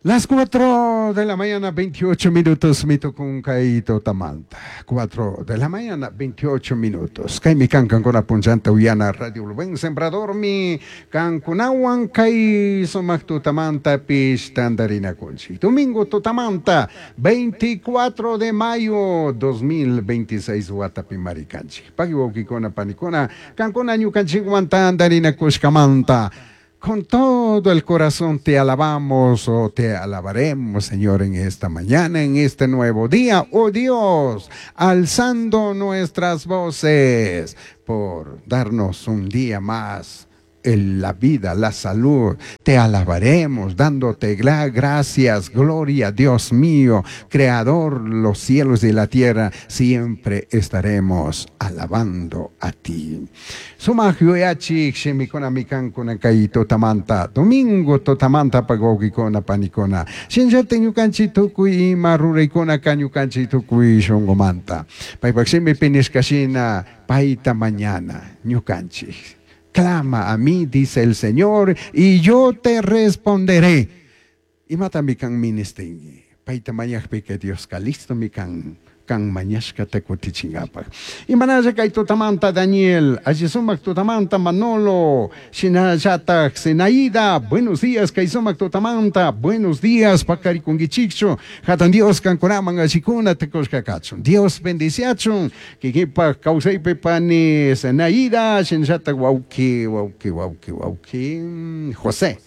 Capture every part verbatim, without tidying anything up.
Las cuatro de la mañana, veintiocho minutos, mi kay tutamanta. cuatro de la mañana, veintiocho minutos. Kaymi kan kankuna punchanta uyana Radio Buen Sembrador mi kankunawan kay sumak tutamanta pish tandarinakunchik. Domingo tutamanta, veinticuatro de mayo dos mil veintiséis watapi marikanchik. Pagui wawkikuna panikuna, kankuna ñukanchikwan tandarinakushkamanta. Con todo el corazón te alabamos o te alabaremos, Señor, en esta mañana, en este nuevo día. Oh Dios, alzando nuestras voces por darnos un día más en la vida, la salud. Te alabaremos dándote gracias, gloria, Dios mío, creador los cielos y la tierra, siempre estaremos alabando a ti. Sumak yuyachik shimikuna mikankuna kay tutamanta, domingo tutamanta pagogikuna panikuna, shinllata ñukanchik tukuy ima ruraykuna ka ñukanchik tukuy shunqumanta. Paypak shimipi nishkashina payta mañana ñukanchik. Clama a mí, dice el Señor, y yo te responderé. Imata mikan ministingi. Paita mañajpi que Dios listo mikan kan mañashkata kutichingapak. Imanalla kay tutamanta Daniel, allí sumak tutamanta Manolo, shinallatak Zenaida, buenos días kay sumak tutamanta, buenos días pakarikungichikchu, hatan Dios kankunaman allikuna tekushkakachun. Dios bendiciachun, kikipak kawsaypi pani Zenaida, shinallatak wawki, wawki, wawki, wawki, José.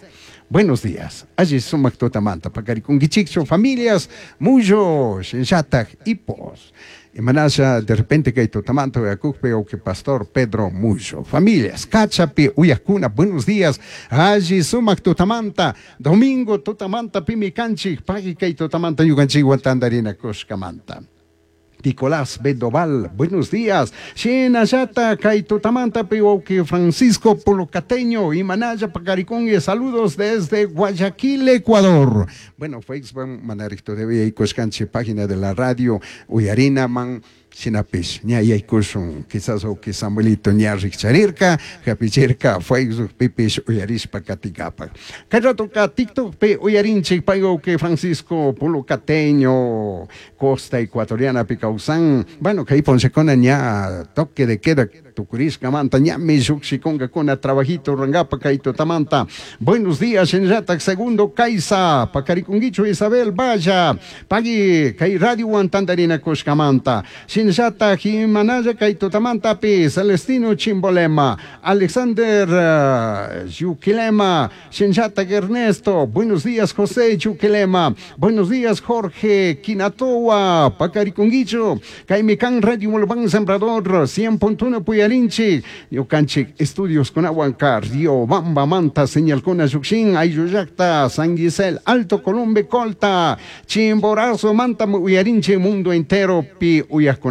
Buenos días. Allí sumak tutamanta pakarikungichikchu, familias, muyo, shinllatak, hipos. Imanasha, de repente que tutamanta uyakukpi o que pastor Pedro Muyo. Familias, Cachapi, Uyakuna, buenos días. Allí sumak tutamanta, domingo tutamanta pimikanchik, pagi kay tutamanta yukanchik guantandarina kushkamanta. Nicolás Bendoval, buenos días. Shinallata, kay tutamanta piwauki Francisco Polocateño, Imanaya Pacaricongue, saludos desde Guayaquil, Ecuador. Bueno, Facebook, manaricto de y Coscanche, página de la radio, Uyarina, man, Shinapish, ña yaykushun, quizás o que Samuelito ña rikcharirka, hapichirka, Facebook pipish uyarishpa katikapa. Kayrato ka TikTok pe uyarinchik paygo que Francisco Polocateño, Costa Ecuatoriana Picausan. Bueno, que ahí ponchecona ña toque de queda tukurishka manta, ña mi shukshikonga kona trabajito rangapa kaito tamanta. Buenos días, Shinratak segundo Kaisa, Pacarikunguicho Isabel Vaya, Pagui, Kay Radio Guantandarina Kushkamanta. Shinshata Jimanaya Kaitotamanta Pi, Celestino Chimbolema, Alexander uh, Yuquilema, Shinshata Ernesto, buenos días José Yuquilema, buenos días Jorge Quinatoa, Pacarikunguicho, Kaimikan Radio Mulbán Sembrador, cien punto uno Puyarinchi, Yokanchik Estudios con Aguancar, Río Bamba Manta, Señal con Ayuxin, Ayuyacta, San Gisel, Alto Columbe Colta, Chimborazo, Manta Uyarinchi, mundo entero, Pi Uyasconapa,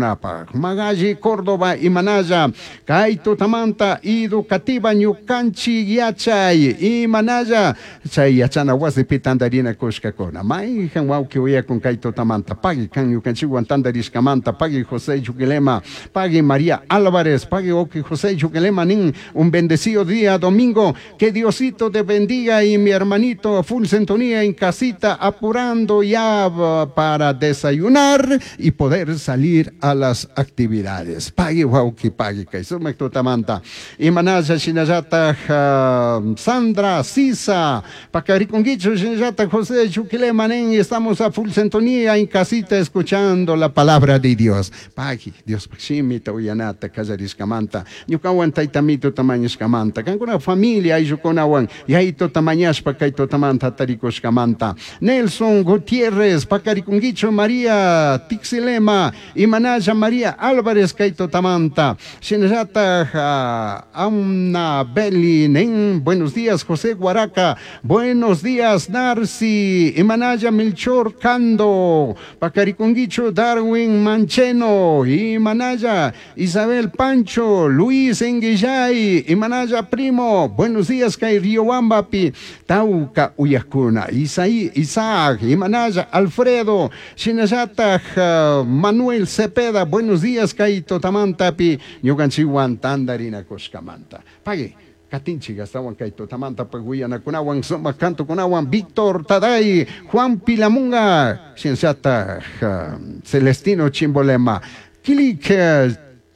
Magalli, Córdoba y Manaya, Kaito Tamanta, Educativa, Ñukanchi, Yachay, y Manaya, Chay Yachana, Wasi Pitandarina, Kushkakona, Maijan Wauki Uya con Kaito Tamanta, Pagui Kan Ñukanchi, Guantandarishkamanta, Pagui José Yuquilema, Pagui María Álvarez, Pagui Oki José Yuquilema, Nin, un bendecido día domingo, que Diosito te bendiga y mi hermanito full sintonía en casita, apurando ya para desayunar y poder salir a las actividades. Pagui wauki pagui kay sumak tutamanta. Imanaya shinallata uh, Sandra Sisa, Pacariconguicho shinallata José Chuquilema nen, estamos a full sintonía en casita escuchando la palabra de Dios. Pagui Dios shimita uyanata kallarishkamanta. Ñukawan taytamito tamañishkamanta. Kankuna familia ayllukunawan yayto tamañashpa kay tutamanta tarikushkamanta. Nelson Gutiérrez, Pacariconguicho María Tixilema, Imanaya María Álvarez Kaito Tamanta, Shinallata Amna Beli Nen, buenos días José Guaraca, buenos días Narci, Imanaya Melchor Cando, Pacariconguicho Darwin Mancheno, Imanaya Isabel Pancho, Luis Enguillay, Imanaya Primo, buenos días Kay Riobambapi, Tauca Uyacuna, Isaí, Isaac, Imanaya Alfredo, Shinallata uh, Manuel Cepeda, buenos días, Kaito Tamantapi, ñukanchikwan tandarina kushkamanta. Pagui, Katinchik astawan kay tutamanta paguyanakunawan sumak kantukunawan Víctor Taday, Juan Pilamunga, Shinllataj Celestino Chimbolema, Kilik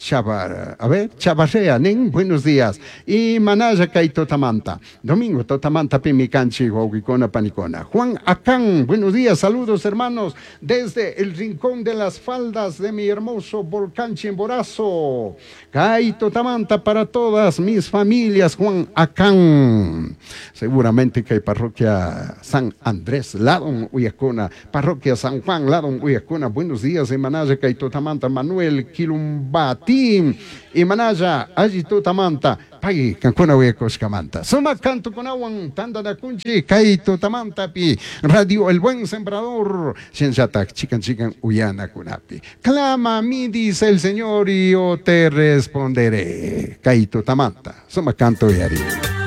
Chavar, a ver, Chavarrea, nin, buenos días. Y Manaya kay tutamanta. Domingo tutamanta pimi kanchik, wawqikuna panikuna. Juan Acán, buenos días, saludos hermanos, desde el rincón de las faldas de mi hermoso volcán Chimborazo. Kay tutamanta para todas mis familias, Juan Acán. Seguramente que hay parroquia San Andrés, Ladon, Uyacuna, parroquia San Juan, Ladon, Uyacuna. Buenos días, Manaya kay tutamanta, Manuel Quilumbati. Y Manaya, alli tutamanta, pay kankuna uyakushkamanta. Sumak kantukunawan tantanakunchik kay tutamantapi Radio El Buen Sembrador, shinllatak chikan chikan uyanakunapi. Clama a mí, dice el Señor, y yo te responderé. Kay tutamanta, sumak kantu uyari.